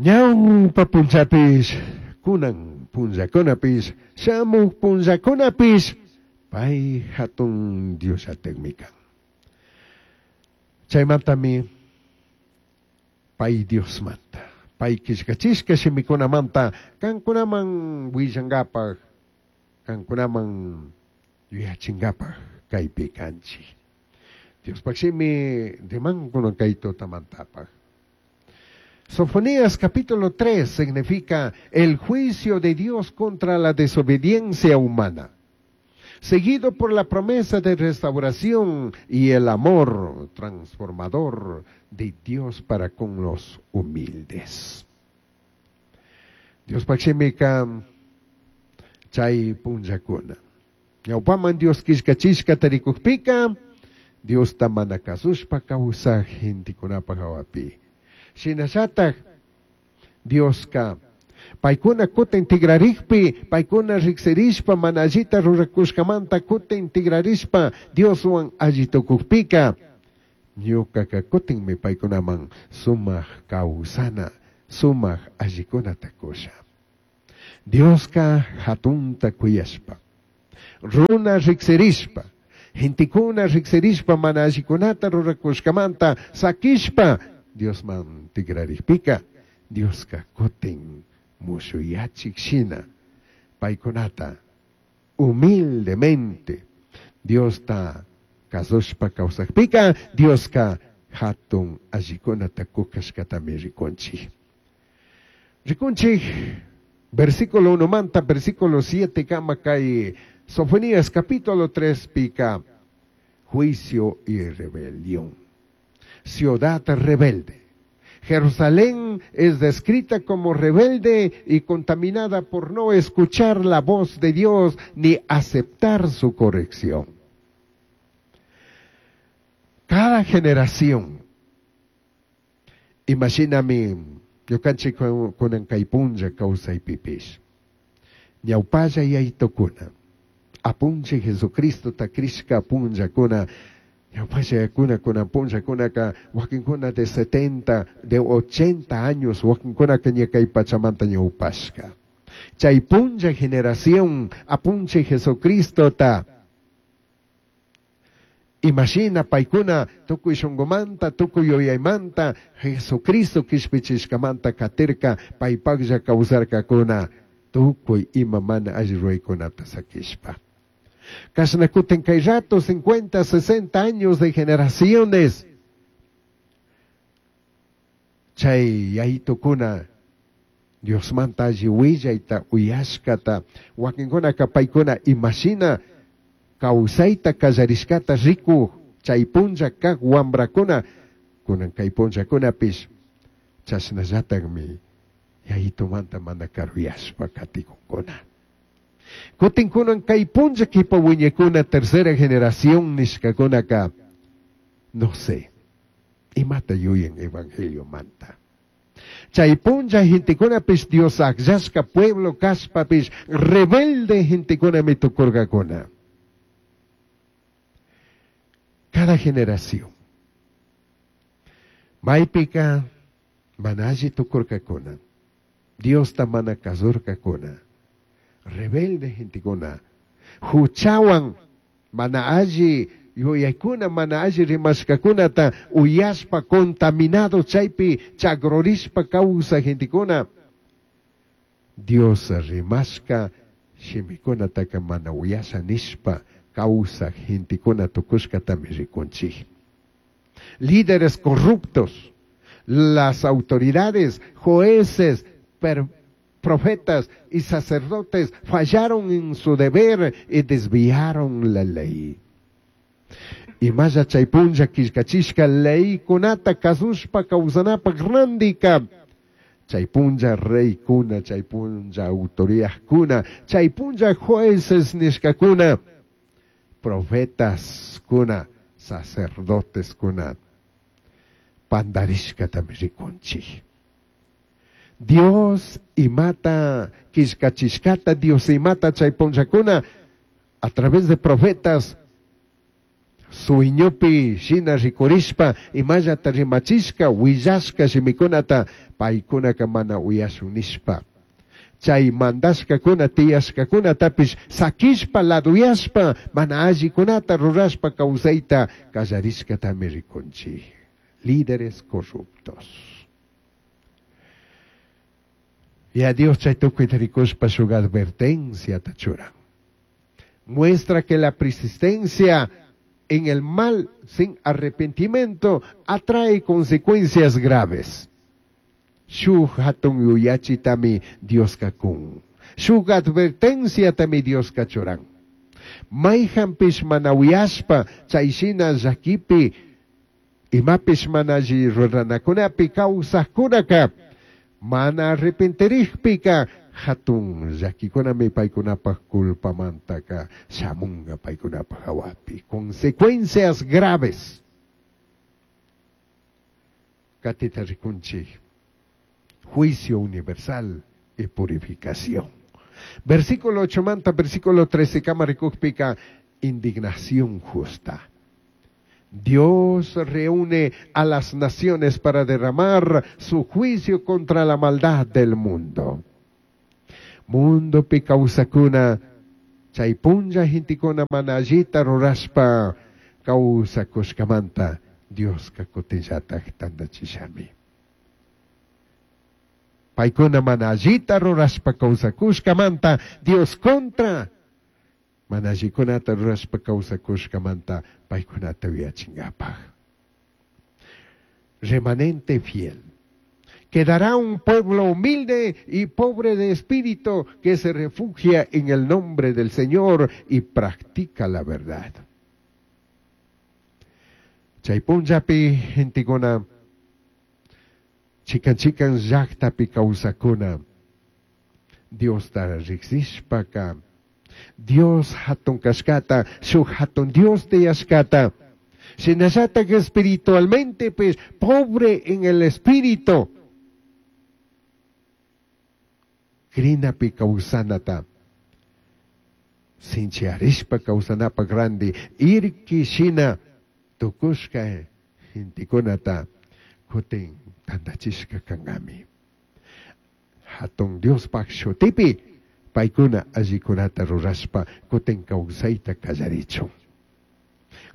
Ñawpa punllapish, kunan punllakunapish, shamuj punllakunapish, pay hatun Diosllatajmi kan. Chaymantami pay Diosmanta, pay killkachishka shimikunamanta kankunaman willangapaj, kankunaman yuyachingapaj kaypi kanchik. Diospaj shimi rimankuna kay tutamantapaj. Sofonías capítulo 3 significa el juicio de Dios contra la desobediencia humana, seguido por la promesa de restauración y el amor transformador de Dios para con los humildes. Diospaj shimika chay punllakuna. Ñawpaman Dios killkachishkata rikukpika, Diosta mana kasushpa kawsaj gentekunapaj hawapi. Shinallataj Dioska paykuna kutin tigrarikpi, paykuna riksirishpa mana allita rurakushkamanta kutin tigrarishpa Dioswan alli tukukpika, ñukaka kutinmi paykunaman sumak kawsana, sumak allikunata kusha. Dioska hatunta kuyashpa, runa riksirishpa, gentekuna riksirishpa mana allikunata rurakushkamanta sakishpa Diosman tigrarikpika, Dioska kutin mushuyachik shina paykunata humildemente Diosta kasushpa kawsakpika, Dioska hatun allikunata kukashkatami rikunchik. Rikunchik versículo 1 manta versículo 7 kama kay Sofonías capítulo 3 pika juicio y rebelión. Ciudad rebelde. Jerusalén es descrita como rebelde y contaminada por no escuchar la voz de Dios ni aceptar su corrección. Cada generación, imagíname, ñukanchik kunan kay punlla kawsaypipish, ñawpalla yaytukuna, apunchik Jesucristota crishka punllakuna, ñawpalla yakuna kunan punllakunaka wakinkuna de 70, de 80 años, wakinkunaka ña kay pachamanta ñawpashka. Chay punlla generación, apunchik Jesucristota, imagina paykuna tukuy shunqumanta, tukuy yuyaymanta, Jesucristo kishpichishkamanta katirka, paypaqlla kawsarkakuna, tukuy ima mana alli ruraykunata sakishpa. Kashna kutin kay rato, 50, 60 años de generaciones, chay yaytukuna Diosmanta alli willayta uyashkata, wakinkunaka paykuna imashina kawsayta kallarishkata rikuj chay punlla kaq wambrakuna, kunan kay punllakunapish chashnallatakmi yayitumanta mana karuyashpa katikunkuna. Kutin kunan kay punlla kipa wiñakuna tercera generación nishkakunaka, no sé, imata yuyan evangeliomanta. Chay punlla gentekunapish Dios akllashka pueblo kashpapish rebelde gentekunami tukurkakuna. Cada generación. Maypika mana alli tukurkakuna, Diosta mana kasurkakuna, rebelde gentekuna, huchawan mana alli yuyaykuna, mana alli rimashkakunata uyashpa contaminado chaypi chagrurishpa kawsaj gentekuna, Dios rimashka shimikunataka mana uyasha nishpa kawsaj gentekuna tukushkatami rikunchik. Líderes corruptos, las autoridades, jueces, profetas y sacerdotes fallaron en su deber y desviaron la ley. Imalla chay punlla killkachishka leykunata kasushpa kawsanapaq randika, chay punlla reykuna, chay punlla autoridadkuna, chay punlla jueces nishkakuna, profetas kuna, sacerdotes kuna, pandarishkatami rikunchik. Dios imata killkachishkata, Dios imata chay punllakuna a través de profetas Sueñopi shina rikurishpa imallata rimachishka willashka shimikunata paykunaka mana uyashun nishpa. Chay mandashkakuna tiyashkakunatapish sakishpa laduyashpa mana allikunata rurashpa kawsayta kallarishkatami rikunchik. Líderes corruptos. Yaya Dios chay tukuyta rikushpa shuk advertenciata churan. Muestra que la persistencia en el mal sin arrepentimiento atrae consecuencias graves. Shuj hatun yuyachitami Dioska kun. Shuj advertenciatami Dioska churan. Mayhanpish mana uyashpa chay shina llakipi imapish mana alli ruranakunapi kawsajkunaka mana arrepentirikpika hatun llakikunami paykunapaj culpamantaka shamunga paykunapaj hawapi. Consecuencias graves. Katita rikunchik. Juicio universal y purificación. Versículo 8 manta, versículo 13, kama rikukpika, indignación justa. Dios reúne a las naciones para derramar su juicio contra la maldad del mundo. Mundopi kawsakuna, chay punlla gentekuna mana allita rurashpa kawsakushkamanta Dioska kutinllataj tandachishami. Paykuna mana allita rurashpa kawsakushkamanta Dios contra mana allikunata rurashpa kawsakushkamanta paykunata uyachingapaj. Remanente fiel. Quedará un pueblo humilde y pobre de espíritu que se refugia en el nombre del Señor y practica la verdad. Chay punllapi gentekuna chikan chikan llaktapi kawsakuna Diosta riksishpaka Dios hatun kashkata, shuk hatun Dios tiyashkata, shinallatak espiritualmente pues pobre en el espíritu, crinapi kawsanata, sinchiyarishpa kawsanapak randi, irki shina tukushka gentekunata kutin tandachishka kankami. Hatun Diospaj shutipi paykuna allikunata rurashpa kutin kawsayta kallarichun.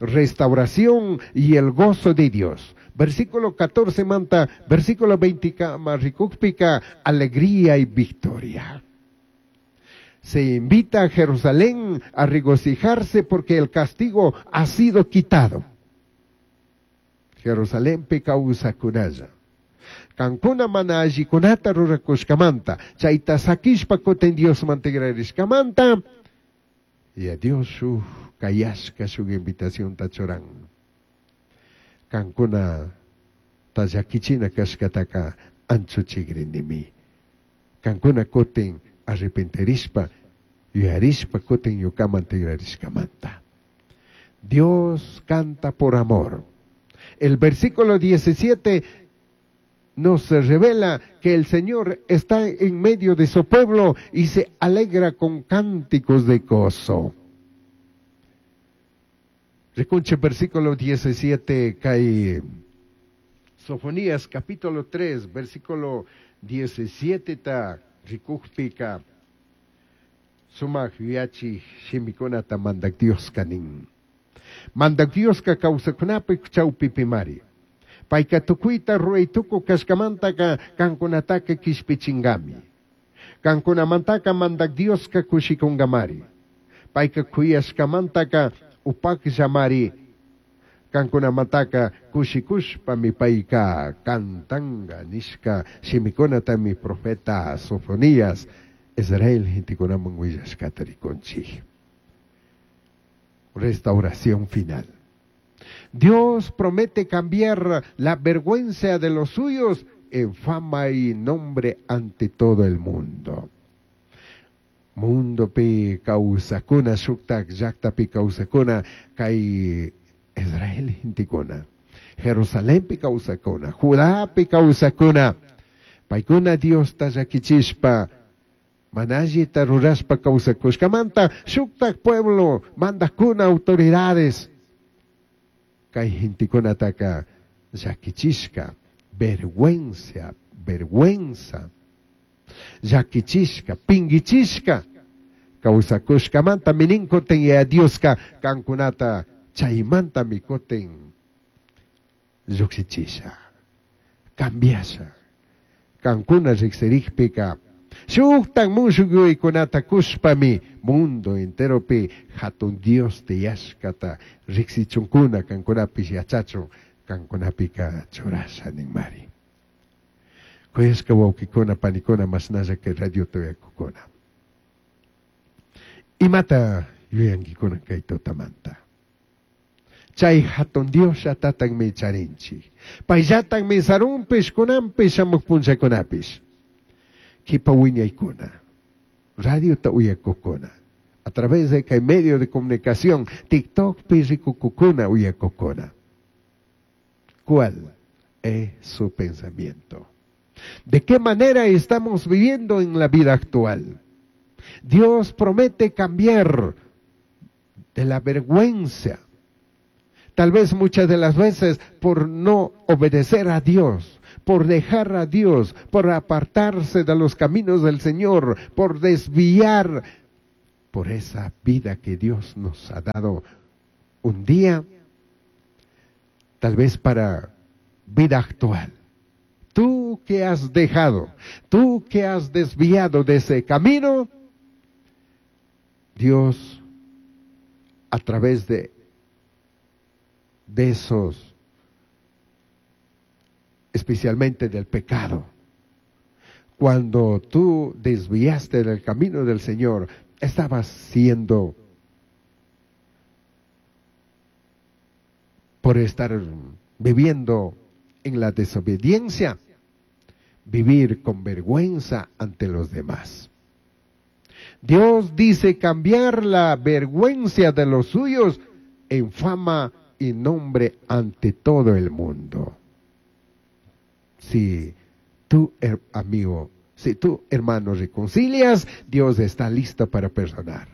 Restauración y el gozo de Dios. Versículo 14 manta, versículo 20 kama rikukpika, alegría y victoria. Se invita a Jerusalén a regocijarse porque el castigo ha sido quitado. Jerusalenpi kawsakunalla. Kankuna mana allikunata rurakushkamanta, chayta sakishpa kutin Diosman tigrarishkamanta, y a Dios shuk kayashka shuk invitacionta churan. Kankuna ta llakichina kashkataka anchuchigrinimi. Kankuna kutin arrepentirishpa, yuyarishpa kutin ñukaman tigrarishkamanta. Dios canta por amor. El versículo 17 nos revela que el Señor está en medio de su pueblo y se alegra con cánticos de gozo. Rikunchik versículo 17 kay Sofonías capítulo 3, versículo 17 ta rikukpika sumak yuyachik shimikunata mandak Dioska nin. Mandak Dioska kawsakunapi chawpipimari. Payka tukuyta ruray tukuy kashkamantaka kankunataka kishpichingami. Kankunamantaka mandak Dioska kushikungamari. Payka kuyashkamantaka upakllamari. Kankunamantaka kushikushpami payka kantanga nishka shimikunatami profeta Sofonías Israel gentekunaman willashkata rikunchik. Restauración final. Dios promete cambiar la vergüenza de los suyos en fama y nombre ante todo el mundo. Mundopi kawsakuna, shuktak llaktapi kawsakuna, kay Israel gentekuna, Jerusalenpi kawsakuna, Judapi kawsakuna, paykuna Diosta llakichishpa, mana allita rurashpa kawsakushkamanta, shuktak pueblo, mandakuna autoridades. Kay gentekunataka llakichishka, vergüenza, vergüenza, llakichishka, pingichishka, kawsakushkamanta minin kutin Yaya Dioska kankunata chaymantami kutin llujshichisha, cambiasha. Kankuna riksirikpika shuktak mushuk yuyaykunata kushpami mundo enteropi hatun Dios tiyashkata riksichunkuna kankunapish yachachun kankunapika churasha ninmari. Kuyashka wawkikuna panikuna mashnalla kay radiota uyakukuna. Imata yuyankikuna kay tutamanta? Chay hatun Dios llatatagmi charinchik. Payllatagmi sarunpish kunanpish shamuq punllakunapish. Kipa wiñaykuna, radiota uyakukuna, a través de kay medio de comunicación, TikTokpi rikukukuna uyakukuna. ¿Cuál es su pensamiento? ¿De qué manera estamos viviendo en la vida actual? Dios promete cambiar de la vergüenza. Tal vez muchas de las veces por no obedecer a Dios, por dejar a Dios, por apartarse de los caminos del Señor, por desviar por esa vida que Dios nos ha dado un día, tal vez para vida actual. Tú que has dejado, tú que has desviado de ese camino, Dios, a través de esos, especialmente del pecado, cuando tú desviaste del camino del Señor, estabas siendo, por estar viviendo en la desobediencia, vivir con vergüenza ante los demás. Dios dice cambiar la vergüenza de los suyos en fama y nombre ante todo el mundo. Si tú, amigo, si tú, hermano, reconcilias, Dios está listo para perdonar.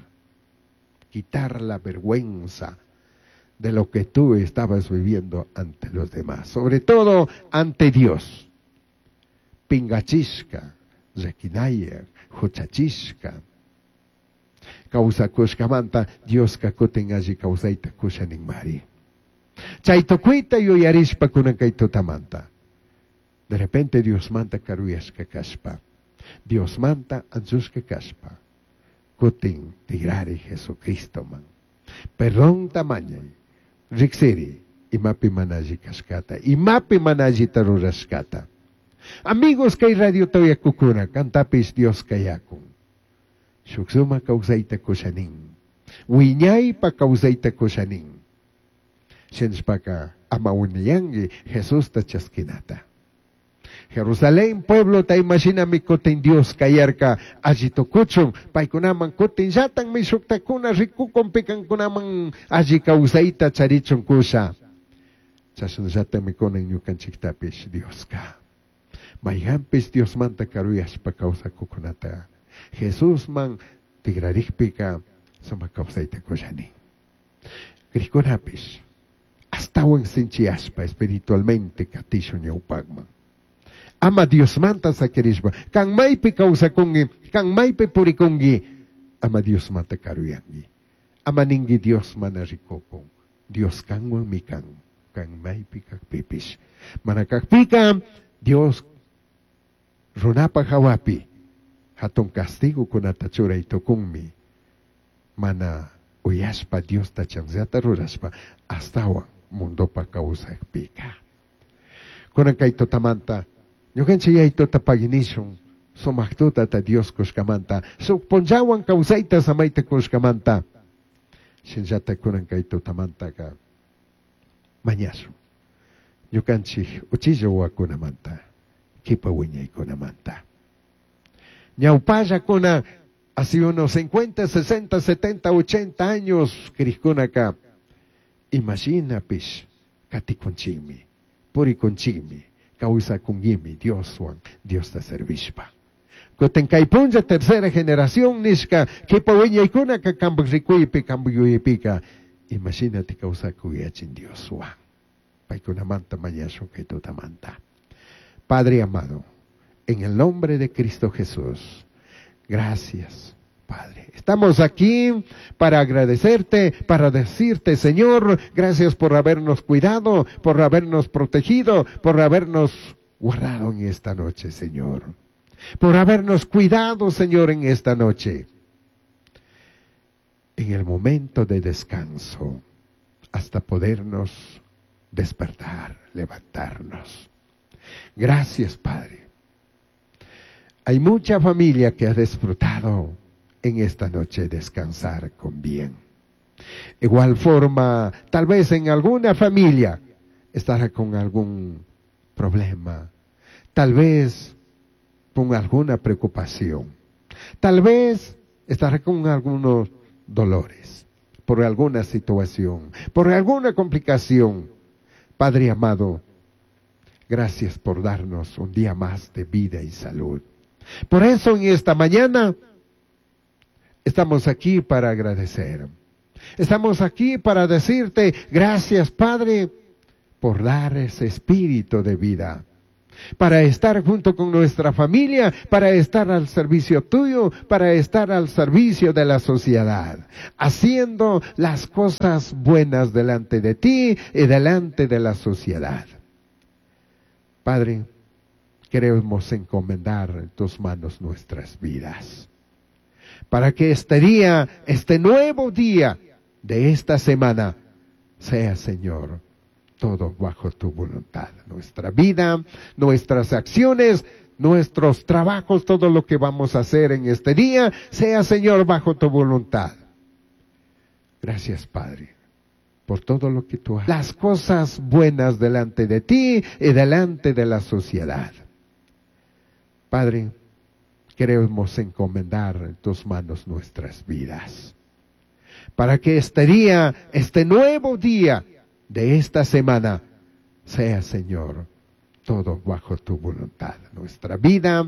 Quitar la vergüenza de lo que tú estabas viviendo ante los demás, sobre todo ante Dios. Pingachishka, llakinaya, huchachishka. Kawsakushkamanta Dioska kutin alli kawsayta kusha ninmari. Chay tukuyta yuyarishpa kunan kay tutamanta. De repente Diosmanta karuyashka kashpa, Diosmanta anchushka kashpa, kutin tigrari Jesucristoman. Perdón tamañay, riksiri, imapi mana alli kashkata, imapi mana allita rurashkata. Amigos kay radio uyakukuna, kantapish Dios kayakun. Shuk suma kawsayta kushanin. Wiñaypa kawsayta kushanin. Shinashpaka ama uniyanki Jesusta chaskinata. Jerusalén pueblo ta imashinami kutin Dios kayarka alli tukuchun, paykunaman kutin llatanmi shuktakuna rikukun pikankunaman alli kawsayta charichun kusha. Chashnallatami kunan ñukanchiktapish Dioska. Mayhanpish Diosmanta karuyashpa kawsakukunata Jesusman tigrarikpika sumak kawsayta kushani. Krikunapish astawan sinchiyashpa espiritualmente katishun ñawpakman. Ama Diosmanta sakirishpa, kan maypi kawsakunki, kan maypi purikunki, ama Diosmanta karuyanki. Ama ninki Dios mana rikukun. Dios kanwanmi kan, kan maypi kakpipish. Mana kakpika, Dios runapa hawapi, hatun castigokunata churay tukunmi. Mana uyashpa Diosta chanzata rurashpa, astawan mundopa kawsakpika. Kunan kay tutamanta, ñukanchik yaytuta paginishun, sumak tutata Dios kushkamanta, suk punllawan kawsayta samayta kushkamanta. Shinllata kunan kay tutamantaka mañashun. Ñukanchik uchilla wawakunamanta, kipa wiñaykunamanta. Ñawpallakuna, hace unos 50, 60, 70, 80 años, krikkunaka, imaginapish, katikunchikmi, purikunchikmi, kawsakunkimi Dioswan, Diosta servishpa. Kutin kay punlla tercera generación nishka, kipa wiñaykunaka kanpak rikuypi, kanpak yuyaypika, imashinati kawsakuyachin Dioswan. Paykunamanta mañashun kay tutamanta. Padre amado, en el nombre de Cristo Jesús, gracias, Padre. Estamos aquí para agradecerte, para decirte, Señor, gracias por habernos cuidado, por habernos protegido, por habernos guardado en esta noche, Señor. Por habernos cuidado, Señor, en esta noche. En el momento de descanso, hasta podernos despertar, levantarnos. Gracias, Padre. Hay mucha familia que ha disfrutado en esta noche descansar con bien. Igual forma, tal vez en alguna familia estará con algún problema, tal vez con alguna preocupación, tal vez estará con algunos dolores, por alguna situación, por alguna complicación. Padre amado, gracias por darnos un día más de vida y salud. Por eso en esta mañana estamos aquí para agradecer. Estamos aquí para decirte gracias, Padre, por dar ese espíritu de vida. Para estar junto con nuestra familia, para estar al servicio tuyo, para estar al servicio de la sociedad, haciendo las cosas buenas delante de ti y delante de la sociedad. Padre, queremos encomendar en tus manos nuestras vidas, para que este día, este nuevo día de esta semana, sea, Señor, todo bajo tu voluntad. Nuestra vida, nuestras acciones, nuestros trabajos, todo lo que vamos a hacer en este día, sea, Señor, bajo tu voluntad. Gracias, Padre, por todo lo que tú haces. Las cosas buenas delante de ti y delante de la sociedad. Padre, queremos encomendar en tus manos nuestras vidas, para que este día, este nuevo día de esta semana, sea, Señor, todo bajo tu voluntad. Nuestra vida,